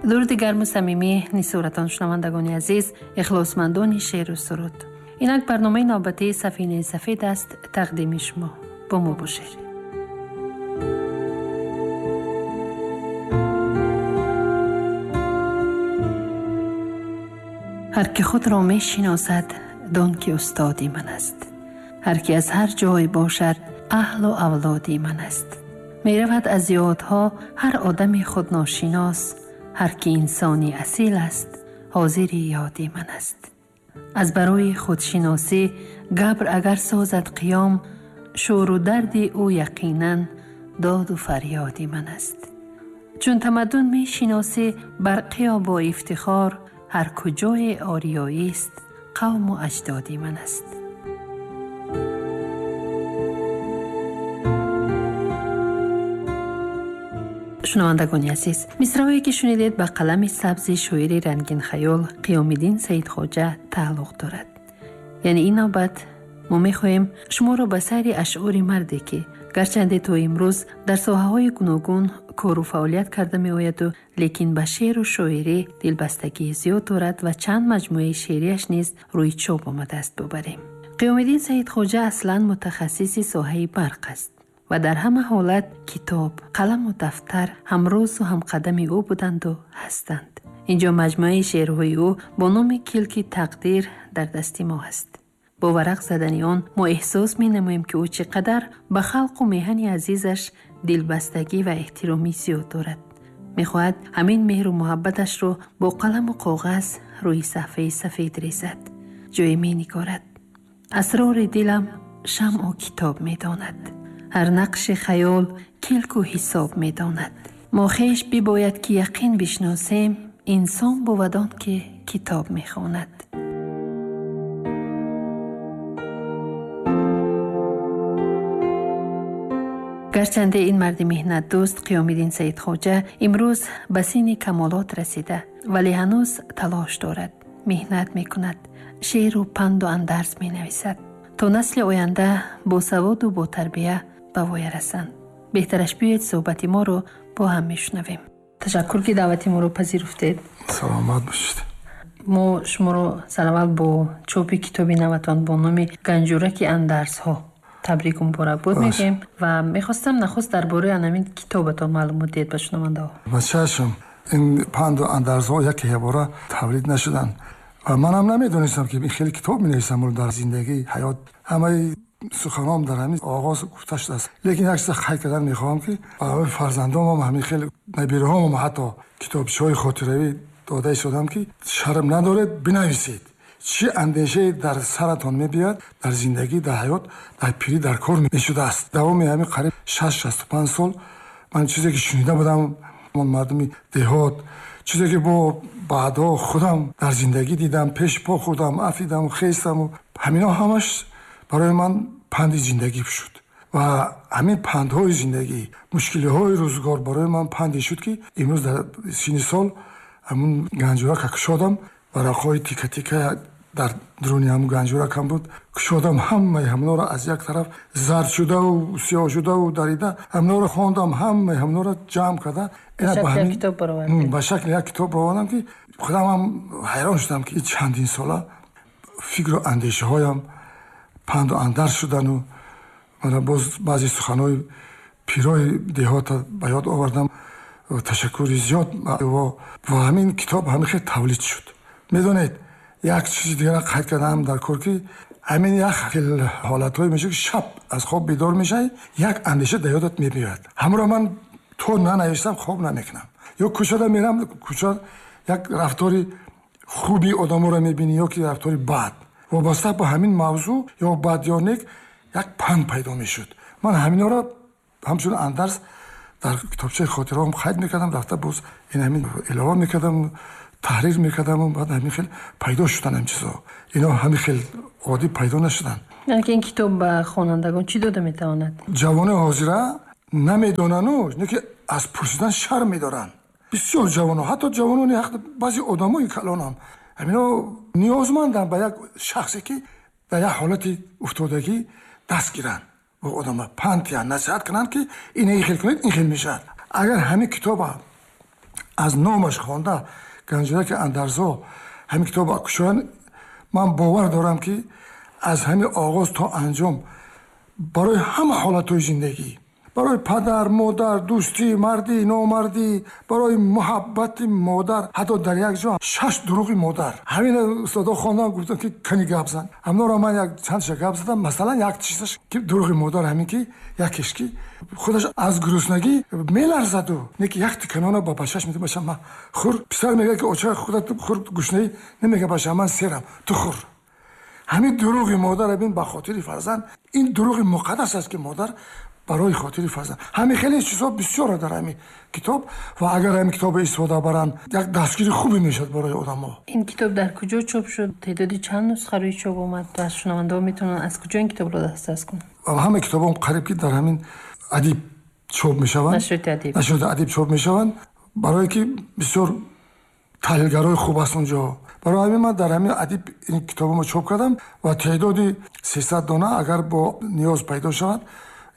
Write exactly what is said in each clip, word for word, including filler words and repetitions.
Дуруди гарму самимӣ нисоратон, шунавандагони азиз, ихлосмандони шеъру суруд. Инак барномаи навбатии Сафинаи сафед аст тақдими шумо. Бо мо бошед. Ҳар ки худро мешиносад, дон ки устоди ман аст. Ҳар ки аз ҳар ҷой бошад, аҳлу авлоди ман аст. Меравад аз ёдҳо ҳар одами худношинос, ҳар ки инсони асил аст, ҳозири ёди ман аст. Аз барои худшиносӣ габр агар созад қиём, шӯру дарди ӯ яқинан доду фарёди ман аст. Чун тамаддун мешиносӣ, бар қиё бо ифтихор, ҳар куҷое ориёист, қавму аҷдоди ман аст. Шунавандагони азиз, мисраҳое ки шунидед ба қалами сабзи шоири рангинхаёл Қиёмиддин Саидхоҷа тааллуқ дорад. Яъне ин навбат мо мехоҳем шуморо ба сайри ашъори марде ки гарчанде то имрӯз дар соҳаҳои гуногун кору фаъолият карда меояду, лекин ба шеъру шоирӣ дилбастагии зиёд дорад ва чанд маҷмӯаи шеърияш низ рӯи чоп омадааст бубарем. Қиёмиддин Саидхоҷа аслан мутахассиси соҳаи барқ аст ва дар ҳама ҳолат китоб, қаламу дафтар ҳамрозу ҳамқадами ӯ буданду ҳастанд. Инҷо маҷмӯаи шеърҳои ӯ бо номи Килки тақдир дар дасти мо ҳаст. Бо варақ задани он мо эҳсос менамоем, ки ӯ чӣ қадар ба халқу меҳани азизаш дилбастагӣ ва эҳтироми зиёд дорад. Мехоҳад ҳамин меҳру муҳаббаташро бо қаламу коғаз рӯи саҳфаи сафед резад. Ҷое менигорад: асрори дилам шамъу китоб медонад, ҳар нақши хаёл килку ҳисоб медонад. Мо хеш бибояд ки яқин бишносем, инсон бувад он ки китоб мехонад. Гарчанде ин марди меҳнатдӯст Қиёмиддин Саидхоҷа имрӯз ба синни камолот расида, вале ҳанӯз талош дорад, меҳнат мекунад, шеъру панду андарз менависад то насли оянда бо саводу бо тарбия ба воя расанд. Беҳтараш биёед суҳбати моро бо ҳам мешунавем. Ташаккур ки даъвати моро пазируфтед. Саломат бошед. Мо шуморо сараввал бо чопи китоби наватон бо номи Ганҷураки андарзҳо табрику муборакбод мегӯем ва мехостам нахуст дар бораи анамин китобатон маълумот диҳед ба шунавандаҳо. Ба чашм, ин панду андарзҳо яке ябора тавлид нашуданд ва манам намедонистам ки ин хеле китоб менависам дар зиндагӣ, ҳаёт. Ҳамаи суханом дар ҳамин оғоз гуфта шудааст. Лекин як чиз қайд кардан мехоҳам, ки барои фарзандонам ҳамин хеле набираҳомам ҳатто китобчаҳои хотиравӣ дода истодам, ки шарм надоред, бинависед. Чӣ андешае дар саратон мебиёяд дар зиндагӣ, дар ҳаёт, дар пирӣ, дар кор мешудааст. Давоми ҳамин қариб шаст шасту панҷ сол ман чизе ки шунида будам, мардуми деҳот, чизе ки бо баъдҳо худам дар зиндагӣ дидам, пеш по хӯрдам, афидам, хестаму ҳамино ҳамаш барои ман панди зиндагӣ шуд. Ва ҳамин пандҳои зиндагӣ, мушкилиҳои рӯзгор барои ман панде шуд, ки имрӯз дар синни сол ҳамун ганҷурака кушодам, варақҳои тика-тика дар дуруни ҳамун ганҷуракам буд, кушодам, ҳамаи ҳамонро аз як тараф зард шудаву сиёҳ шудаву дарида, ҳамонро хондам, ҳамаи ҳамонро ҷамъ карда ба шакли як китоб баровардам, ки худам ҳам ҳайрон шудам, ки чандин сола фикру андешаҳоям панду андарз шудану мана боз баъзе суханҳои пирои деҳота ба ёд овардам. Ташаккури зиёд ва ҳамин китоб ҳамин хел тавлид шуд. Медонед, як чизи дигара қайд кардам дар кор, ки ҳамин як хел ҳолатҳое мешавад, ки шаб аз хоб бедор мешавӣ, як андеша дар ёдат мебиёяд. Ҳамонро ман то нанавиштам хоб намекунам. Ё кӯчада мерам, кӯча як рафтори хуби одаморо мебинӣ ё ки рафтори бад. Вобаста ба ҳамин мавзӯъ ё бад ё нек як панд пайдо мешуд. Ман ҳаминҳоро ҳамчун андарз дар китобчаи хотираҳом қайд мекардам, рафта боз ин ҳамин илова мекардам, таҳрир мекардам, баъд ҳамин хел пайдо шудан ҳамин чизҳо. Ино ҳамин хел оддӣ пайдо нашуданд. Яъне ки ин китоб ба хонандагон чӣ дода метавонад? Ҷавонои ҳозира намедонану, не ки аз пурсидан шарм медоранд. Бисёр ҷавонон, ҳатто ҷавонони баъзе одамои калонам ҳамино ниёзманданд ба як шахсе, ки дар як ҳолати уфтодагӣ даст гиранд, бо одама панд диҳанд, насиҳат кунанд, ки ин ин хел кунед, ин хел мешавад. Агар ҳамин китоба Аз номаш хонда Ганҷинаки андарзҳо ҳамин китобро кушоянд, ман бовар дорам, ки аз ҳамин оғоз то анҷом барои ҳама ҳолатҳои зиндагӣ, барои падар, модар, дӯстӣ, мардӣ, номардӣ, барои муҳаббати модар, ҳатто дар як ҷо шаш дурӯғи модар. Ҳамин устодо хондам, гуфтам, ки кани гап зан. Ҳамноро ман як чандша гап задам. Масалан, як чизаш ки дурӯғи модар ҳамин ки якеш ки худаш аз гуруснагӣ меларзаду не ки як тиканона ба бачаш медиҳад: бача, ман хӯр. Писар мегӯяд, ки оча, худат хӯр, гушнаӣ. Намега, бача, ман серам, ту хӯр. Ҳамин дурӯғи модар бин ба хотири фарзанд, ин дурӯғи муқаддас аст, ки модар барои хотири фарзанд. Ҳамин хеле чизҳо бисёре дар ҳамин китоб ва агар ҳамин китобро истифода баранд, як дастгири хубе мешавад барои одамо. Ин китоб дар куҷо чоп шуд? Теъдоди чанд нусха рӯи чоп омад? Аз шунавандаҳо метавонанд аз куҷо ин китобро дастрас кунанд? Ҳама китобҳо қариб ки дар ҳамин Адиб чоп мешаванд. Нашриёти Адиб. Нашриёти Адиб чоп мешаванд, барое ки бисёр таҳлилгарои хуб аст унҷо. Барои ҳамин ман дар ҳамин Адиб ин китобамо чоп кардам ва теъдоди сесад дона, агар бо ниёз пайдо шавад,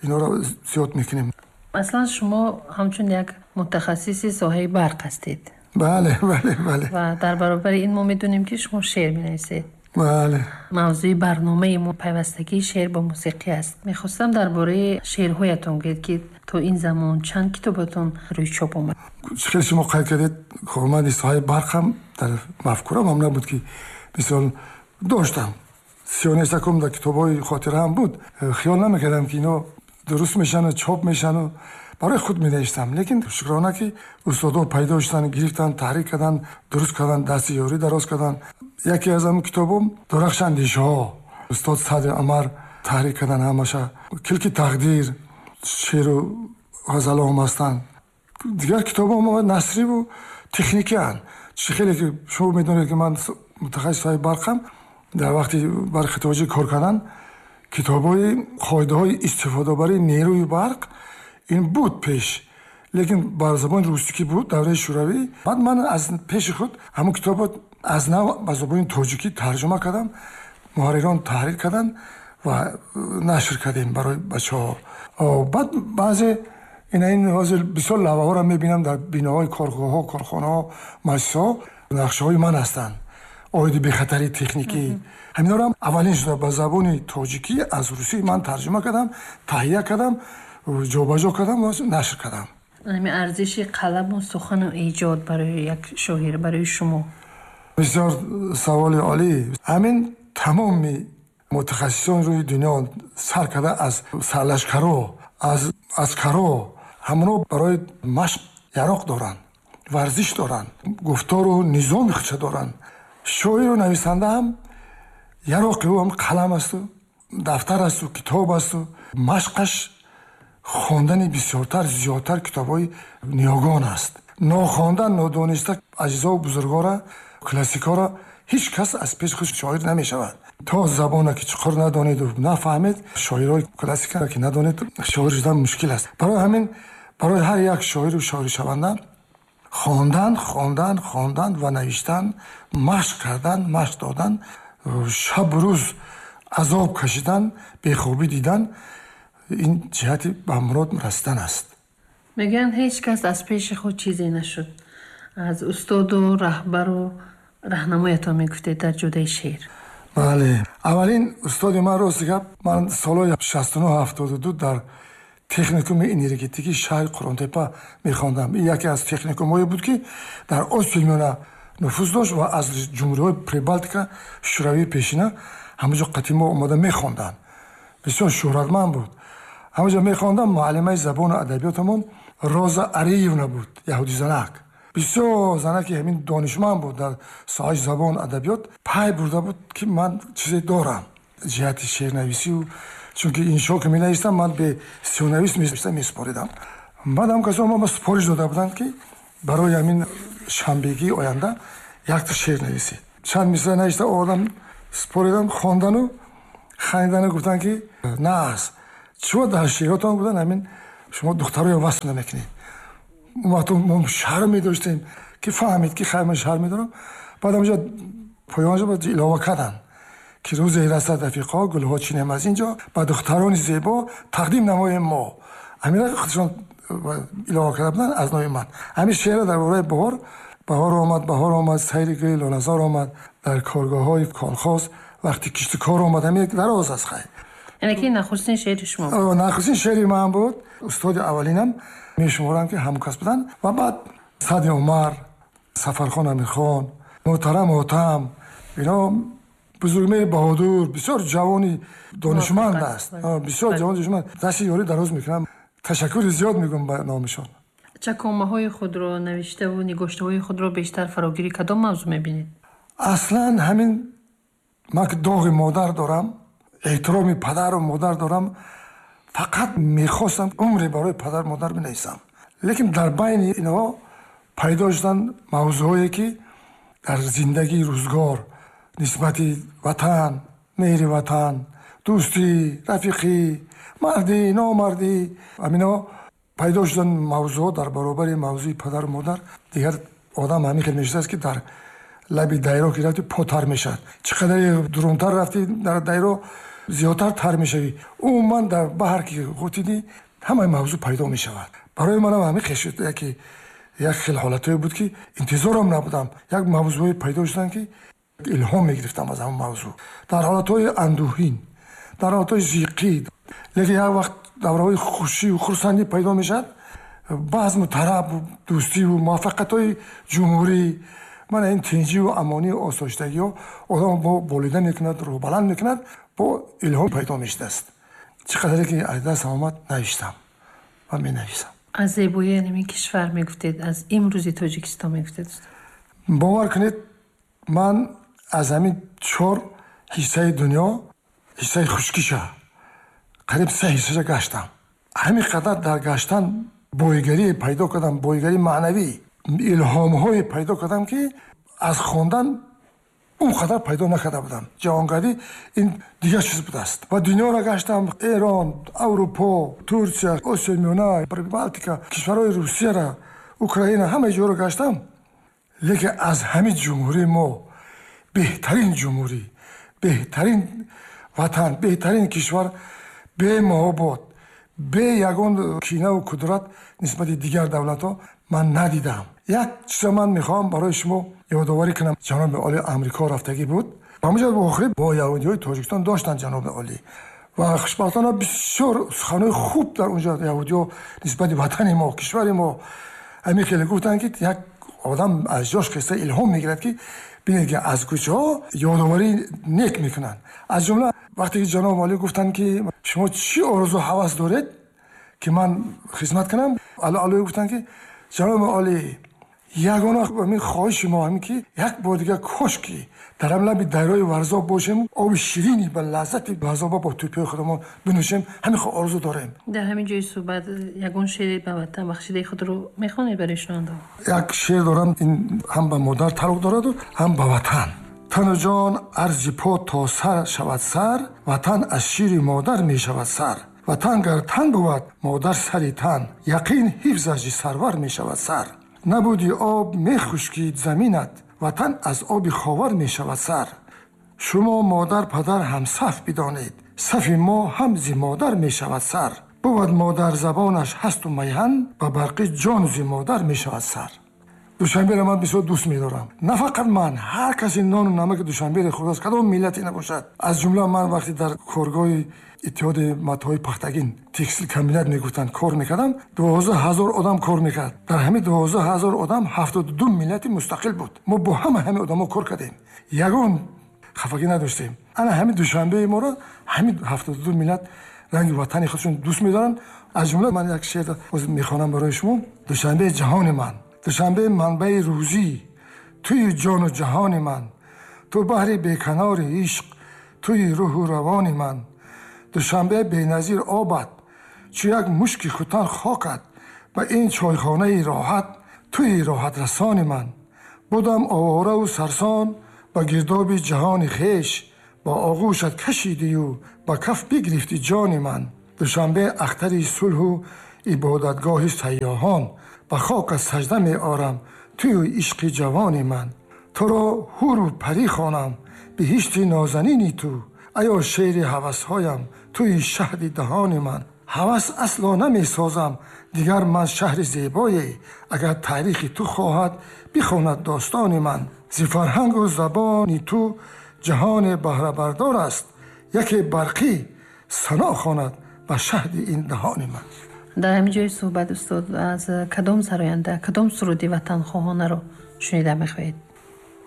инҳоро зиёд мекунем. Аслан шумо ҳамчун як мутахассиси соҳаи барқ ҳастед. Бале, бале, бале. Ва дар баробари ин мо медонем, ки шумо шеър менависед. Бале. Мавзӯи барномаи мо пайвастагии шеър бо мусиқӣ аст. Мехостам дар бораи шеърҳоятон гӯед, ки то ин замон чанд китобатон рӯи чоп омад? Хеле шумо қайд кардед, корманди соҳаи барқам дар мафкурам ҳам набуд, ки мисол доштам. Сионестакум дар китобҳои хотираам буд. Хиёл намекардам, ки ино дуруст мешану чоп мешану барои худ менавиштам. Лекин шукрона, ки устодон пайдо шуданд, гирифтанд, таҳрир карданд, дуруст карданд, дасти ёрӣ дароз карданд. Яке аз ҳамин китобом Дурахши андешаҳо, устод Садри Умар таҳрир карданд ҳамаша. Килки тақдир, шеъру ғазалҳоам ҳастанд. Дигар китобҳом насриву техникианд. Чӣ хеле ки шумо медонед, ки ман мутахассиси соҳаи барқам, дар вақти Барқи Тоҷик кор кардан, китобҳои қоидаҳои истифодабарии нерӯи барқ ин буд пеш, лекин бар забони русӣ ки буд давраи шӯравӣ. Баъд ман аз пеши худ ҳамон китобро аз нав ба забони тоҷикӣ тарҷума кардам, муҳаррирон таҳрир карданд ва нашр кардем барои бачаҳо. Баъд баъзе ина ин ҳозир бисёр лавҳаҳоро мебинам дар биноҳои коргоҳҳо, корхонаҳо, муассисаҳо, нақшаҳои ман ҳастанд оиди бехатарии техникӣ. Ҳаминҳоро аввалин шуда ба забони тоҷикӣ аз русӣ ман тарҷума кардам, таҳия кардам, ҷобаҷо кардам ва нашр кардам. Ҳамин арзиши қаламу сухану эҷод барои як шоир, барои шумо? Бисёр саволи олӣ. Ҳамин тамоми мутахассисон рӯи дунё, сар карда аз сарлашкаро, аз аскаро, ҳамоно барои машқ яроқ доранд, варзиш доранд, гуфтору низоми худша доранд. Шоиру нависанда ҳам яроқи ӯ ҳам қалам асту дафтар асту китоб асту машқаш хондани бисёртар, зиёдтар китобҳои ниёгон аст. Нохондан, нодониста азизову бузургора, классикҳоро ҳеҷ кас аз пеши худ шоир намешавад. То забона ки чуқур надонеду нафаҳмед, шоирҳои классика ки надонед, шоир шудан мушкил аст. Барои ҳамин барои ҳар як шоиру шоиршаванда хондан, хондан, хондан ва навиштан, машқ кардан, машқ додан, шабу рӯз азоб кашидан, бехобӣ дидан, ин ҷиҳати ба мурод расидан аст. Мегӯянд, ҳеҷ кас аз пеши худ чизе нашуд. Аз устоду раҳбару раҳнамоятон мегуфтед дар ҷодаи шеър. Бале, аввалин устоди ман, рости гап, ман солҳои шасту нӯҳ, ҳафтоду ду дар техникуми энергетикии шаҳри Қурғонтеппа мехондам. Ин яке аз техникумҳое буд, ки дар Осиёи Миёна нуфуз дошт ва аз ҷумҳуриҳои Прибалтика, Шӯравии пешина ҳамаҷо қатъи мо омода мехонданд. Бисёр шӯҳратманд буд. Ҳамаҷо мехондам. Муаллимаи забону адабиётамон Роза Ариевна буд, яҳудизанак. Бисёр занаки ҳамин донишманд буд дар соҳаи забону адабиёт. Пай бурда буд, ки ман чизе дорам ҷиҳати шеърнависию, чунки иншо ки менавистам, ман бе сиёнавис месупоридам. Баъд ҳам касо ма супориш дода буданд, ки барои ҳамин шанбегии оянда якта шеър нависед. Чанд мисра нависта овардам, супоридам, хондану хандану гуфтанд, ки на аст чиво дар шеъротон гуфтанд, ҳамин шумо духтароя васф намекунед. Он вақто мо шарм медоштем, ки фаҳмид, ки хайр, ман шарм медорам. Баъд ҳамҷо поёнҷо илова карданд, ки рӯзе расад, рафиқо, гулҳо чинем аз ин ҷо, ба духтарони зебо тақдим намоем мо. Ҳамина худшон илова карда буданд аз номи ман. Ҳамин шеър дар бораи баҳор. Баҳор омад, баҳор омад, сайри гули лолазор омад, дар коргоҳҳои колхоз вақти кишту кор омад. Ҳамин як дароз аст хай. Яъне ки нахустин шеъри шумо? Нахустин шеъри ман буд. Устоди аввалинам мешуморам ки ҳамкас буданд. Ва баъд Сади Умар, Сафархон Амирхон, Муҳтарам Ҳотам, ино Бузургмеҳри Баҳодур бисёр ҷавони донишманд аст. Бисёр ҷавони донишманд. Дасти ёрӣ дароз мекунам. Ташаккури зиёд мегӯям ба номишон. Чакомаҳои худро, навиштаву нигоштаҳои худро бештар фарогири кадом мавзӯъ мебинед? Аслан ҳамин ман ки доғи модар дорам, эҳтироми падару модар дорам, фақат мехостам умре барои падару модар бинависам. Лекин дар байни инҳо пайдо шуданд мавзӯъҳое ки дар зиндагии рӯзгор нисбати ватан, меҳри ватан, дӯстӣ, рафиқӣ, мардӣ, номардӣ, ҳамино пайдо шуданд мавзӯъҳо дар баробари мавзӯи падару модар. Дигар одам ҳамин хел мешудааст ки дар лаби дайро ки рафти потар мешавад. Чӣ қадаре дурунтар рафти дар дайро зиёдтар тар мешавӣ. Умуман дар баҳр ки ғутидӣ ҳамаи мавзӯъ пайдо мешавад. Барои манам ҳамин хел шуд, яке як хел ҳолатҳое буд ки интизорам набудам. Як мавзӯъҳое пайдо шуданд ки илҳом мегирифтам аз ҳамон мавзӯъ. Дар ҳолатҳои андӯҳин, дар ҳолатҳои зиқӣ, лекин як вақт давраҳои хушию хурсандӣ пайдо мешавад, базму тарабу дӯстиву муваффақиятҳои ҷумҳурӣ, мана ин тинҷиву амонию осоиштагиҳо одам бо болида мекунад, рӯҳбаланд мекунад, бо илҳом пайдо мешудааст. Чӣ қадаре ки аз дастам омад навиштам ва менависам. Аз зебоии ҳамин кишвар мегуфтед, аз имрӯзи Тоҷикистон мегуфтед. Бовар кунед, ман аз ҳамин чор ҳиссаи дунё, ҳиссаи хушкиша қариб се ҳиссаша гаштам. Ҳамин қадар дар гаштан боигарие пайдо кардам, боигарии маънавӣ, илҳомҳое пайдо кардам ки аз хондан он қадар пайдо накарда будам. Ҷаҳонгардӣ ин дигар чиз будааст. Ва дунёро гаштам, Эрон, Аврупо, Турсия, Осиёи Миёна, Прибалтика, кишварҳои Русияра, Украина, ҳамаи ҷоро гаштам. Лекин аз ҳамин ҷумҳурии мо беҳтарин ҷумҳурӣ, беҳтарин ватан, беҳтарин кишвар, бемуҳобот, бе ягон кинаву кудрат нисбати дигар давлатҳо ман надидам. Як чиза ман мехоҳам барои шумо ёдоварӣ кунам. Ҷаноби олӣ Амрико рафтагӣ буд. Ҳамонҷо охири бо яҳудиҳои Тоҷикистон доштанд ҷаноби олӣ. Ва хушбахтона бисёр суханҳои хуб дар онҷо яҳудиҳо нисбати ватани мо, кишвари мо ҳамин хеле гуфтанд ки як одам аз ҷош хеста илҳом мегирад ки бинед ки аз куҷо ёдоварӣ нек мекунанд. Аз ҷумла вақте ки ҷаноби олӣ гуфтанд ки шумо чӣ орзу ҳавас доред ки ман хизмат кунам, Аллоҳ гуфтанд ки ҷаноби олӣ, ягона ҳамин хоҳиши мо ҳамин ки як бор дигар кош ки дар ҳам лаби дарёи Варзоб бошем, оби ширини ба лаззати Варзоба бо тӯпиҳои худамон бинӯшем, ҳамин хо орзу дорем. Дар ҳамин ҷои суҳбат ягон шеъри ба ватан бахшидаи худро мехонед барои шунавандаҳо? Як шеър дорам, ин ҳам ба модар тааллуқ дораду ҳам ба ватан. Тану ҷон арзи по то сар шавад сар, ватан аз шири модар мешавад сар. Ватан гар тан бувад, модар сари тан, яқин ҳифзаш сарвар мешавад сар. Набуди об мехушкид заминат, ватан аз оби ховар мешавад сар. Шумо модар падар ҳамсаф бидонед, сафи мо ҳам зи модар мешавад сар. Бувад модар забонаш ҳасту майҳан, ба барқи ҷон зи модар мешавад сар. Душанберо ман бисёр дӯст медорам. На фақат ман, ҳар касе нону намаки Душанберо хӯрдааст, кадом миллате набошад. Аз ҷумла ман вақте дар коргоҳи иттиҳоди матоҳои пахтагин текстил комбинат мегуфтанд кор мекардам, дувоздаҳ ҳазор одам кор мекард. Дар ҳамин дувоздаҳ ҳазор одам ҳафтоду ду миллати мустақил буд. Мо бо ҳама ҳамин одамо кор кардем, ягон хафагӣ надоштем. Ана ҳамин Душанбеи моро ҳамин ҳафтоду ду миллат ранги ватани худшон дӯст медоранд. Аз ҷумла ман як шеър мехонам барои шумо. Душанбе ҷаҳони ман, Душанбе манбаи рӯзӣ, туи ҷону ҷаҳони ман, ту баҳри беканори ишқ, туи рӯҳу равони ман. Душанбе беназир обад, чу як мушки хутан хокат, ба ин чойхонаи роҳат, туи роҳатрасони ман. Будам овора сарсон ба гирдоби ҷаҳони хеш, ба оғӯшат кашидию ба каф бигирифти ҷони ман. Душанбе ахтари сулҳу ибодатгоҳи сайёҳон, ба хокат сажда меорам туи ишқи ҷавони ман. Туро ҳуру парӣ хонам, биҳишти нозанини ту, аё шеъри ҳавасҳоям, туи шаҳди даҳони ман. Ҳавас асло намесозам дигар ман шаҳри зебое. Агар таърихи ту хоҳад бихонад достони ман. Зи фарҳангу забони ту ҷаҳоне баҳрабардор аст. Яке барқӣ сано хонад ба шаҳди ин даҳони ман. Дар ҳамин ҷои суҳбат, устод, аз кадом сароянда кадом суруди ватанхоҳонаро шунида мехоҳед?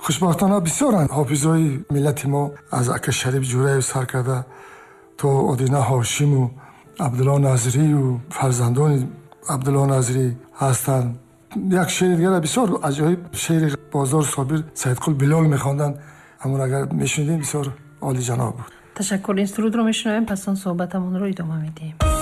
Хушбахтона бисёранд ҳофизои миллати мо, аз ака Шариф Ҷураев сар карда то Одина Ҳошиму Абдулло Назрию фарзандони Абдулло Назрӣ ҳастанд. Як шеъри дигара бисёр аҷоиб шеъри Бозор Собир Саидқул Билол мехонданд. Ҳамон агар мешунидем, бисёр олиҷаноб буд. Ташаккур. Ин сурудро мешунавем, пас он суҳбатамонро идома медиҳем.